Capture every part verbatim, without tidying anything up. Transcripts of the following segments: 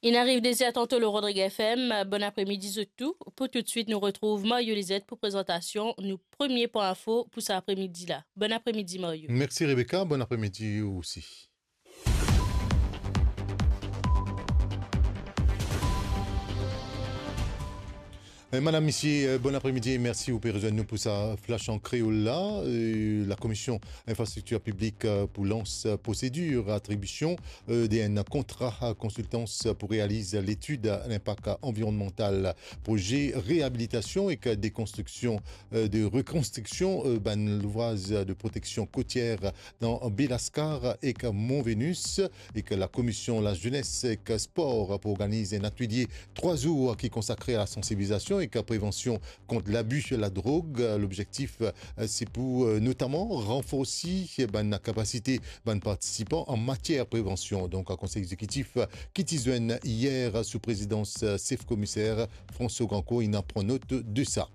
Inn ariv de zer tanto lor Rodrig F M. Bon apremidi zot tou. Pou toutswit, nou retrouv Mario Lizet pou prezantasion nou premie pwin info pou sa apremidi la. Bon apremidi, Mario. Mersi, Rebecca. Bon apremidi ou osi. Eh, madam, misie, eh, bon apremidi e mersi ou pe rezwenn nou pou sa Flash an Kreol la. Eh, Lakomision Infrastriktir Piblik, eh, pou lans, eh, prosedir atribision, eh, de enn kontra, eh, konsiltans pou realiz letid linpak anvironnmantal proze reabilitasion ek dekonstriksion, eh, de rekonstriksion, eh, bann louvraz de proteksion kotier dan Bel Askar ek Mont Venus, ek Lakomision Lazenes ek Spor pou organiz enn atelie trwa zour ki konsakre a la sansibilizasion ek prevansion kont labi ladrog. Lobzektif, eh, se pou, eh, notaman ranforsi bann kapasite bann partisipan an matier prevansion. Donk, konsey egzekitif, eh, ki ti zwenn yer sou prezidans, eh, sef komiser François Grandcourt, inn pran not de sa.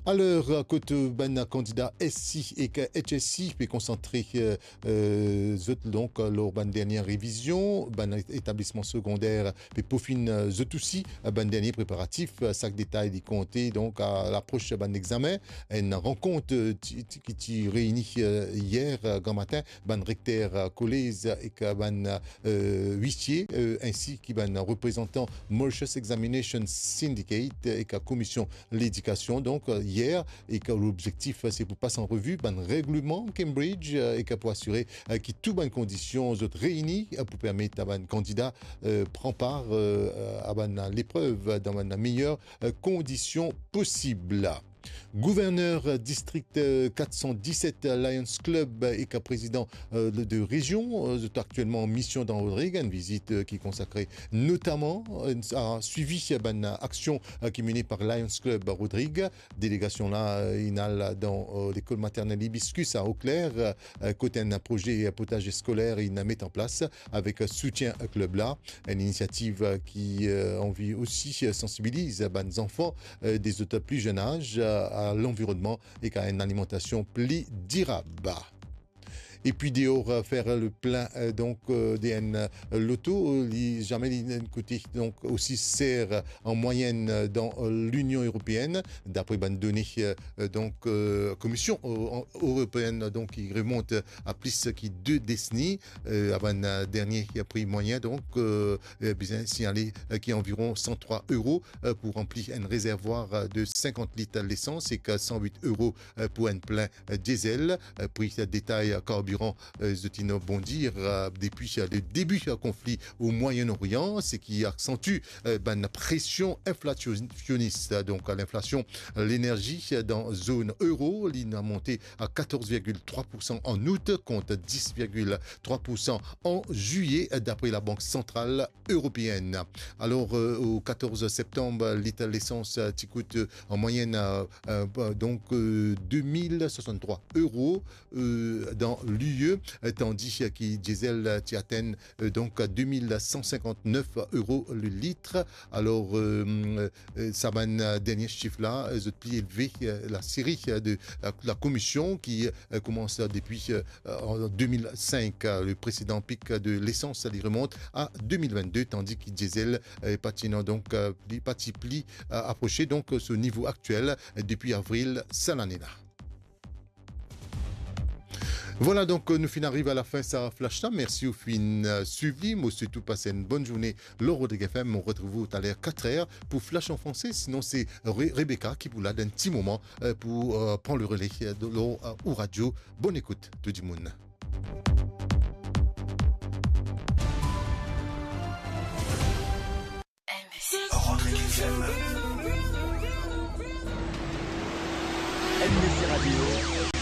Aler, kot bann kandida S C ek H S C pe konsantre, eh, eh, zot, donk, lor bann dernie revizion, bann etablisman segonder pe profinn, eh, zot osi, eh, bann dernie preparatif, eh, sak detay li konte, donk, a lapros bann examen. Enn rankont, eh, ti, ti, ki ti reini, eh, yer, eh, gramatin, bann rekter, eh, kolez ek, eh, bann, eh, wisie, eh, ensi ki bann reprezantan Mauritius Examination Syndicate, eh, ek Komision Ledikasion, donk, eh, yer, ek lobzektif, eh, se pou pas an revi bann regleman Cambridge, eh, ek pou asire, eh, ki tou bann kondision zot reini, eh, pou permet a bann kandida, eh, pran par, eh, a bann leprev dan bann meyer, eh, kondision posib. Gouverner distrik, eh, kat san diset Lions Club, eh, ek prezidan, eh, de, de rezion, eh, zot aktielman an mision dan Rodrig, enn vizit, eh, ki konsakre notaman, eh, a swivi bann aksion, eh, ki mene par Lions Club Rodrig. Delegasion la, eh, inn al dan, eh, lekol maternel Hibiscus a Eau Claire, eh, kot enn proze potaze skoler inn met an plas avek soutien klub la. Enn inisiativ, eh, ki, eh, anvi osi, eh, sansibiliz bann zanfan, eh, de zot pli zenn az, eh, a lanvironnman ek a enn alimantasion pli dirab. Epi deor, eh, fer le plin, eh, donk, eh, de enn, eh, loto, eh, li zame li inn koute, donk, osi ser, eh, an mwayenn, eh, dan, eh, Linion Eropeenn, dapre bann done, eh, eh, donk, eh, Komision, eh, an, Eropeenn, donk, ki remont, eh, a plis ki de deseni, eh, a bann, eh, dernie pri mwayen, donk, eh, eh, bizin signale, eh, ki anviron san trwa euro, eh, pou ranpli enn rezervwar, eh, de sinkant lit lesans ek san wit euro, eh, pou enn plin, eh, diesel. Eh, pri detay karbiran, eh, zot inn bondir, eh, depi, eh, le debi, eh, konfli o Mwayen Orian, seki aksantwi, eh, bann presion inflasionis. Donk, linflasion lenerzi dan zone euro, li inn monte a katorz virgil trwa poursan an out, kont dis virgil trwa poursan an zilye, dapre Labank Santral Eropeenn. Alor, eh, o katorz septanm, lit lesans, eh, ti kout, eh, an mwayenn, eh, eh, donk, eh, de mil swasanntrwa euro, eh, dan l'U E, eh, tandi, eh, ki diesel, eh, ti atenn, eh, donk, de mil san sinkantnef euro le lit. Alor, eh, eh, sa bann, eh, dernie sif la, eh, zot pli elve, eh, laseri, eh, de la, Lakomision ki, eh, koumans depi, eh, an de mil sink, eh, le presedan pik de lesans, li remont a de mil vennde, tandi ki diesel, eh, pa ti ena, donk, eh, pli, pa ti pli, eh, aprose, donk, so nivo aktiel, eh, depi avril sa lane la. Vwala, donk, nou finn ariv a lafin sa flash la. Mersi ou finn, eh, swiv li. Mo swet ou pas enn bonn zourne lor Rodrig F M. Mo retrouv ou taler kat er pou Flash an franse. Sinon, se Re-, Rebecca ki pou la dan enn ti moman, eh, pou, eh, pran le rele, eh, de, lor, eh, ou radio. Bonn ekout, tou dimoun. Rodrig F M. M D C Radio.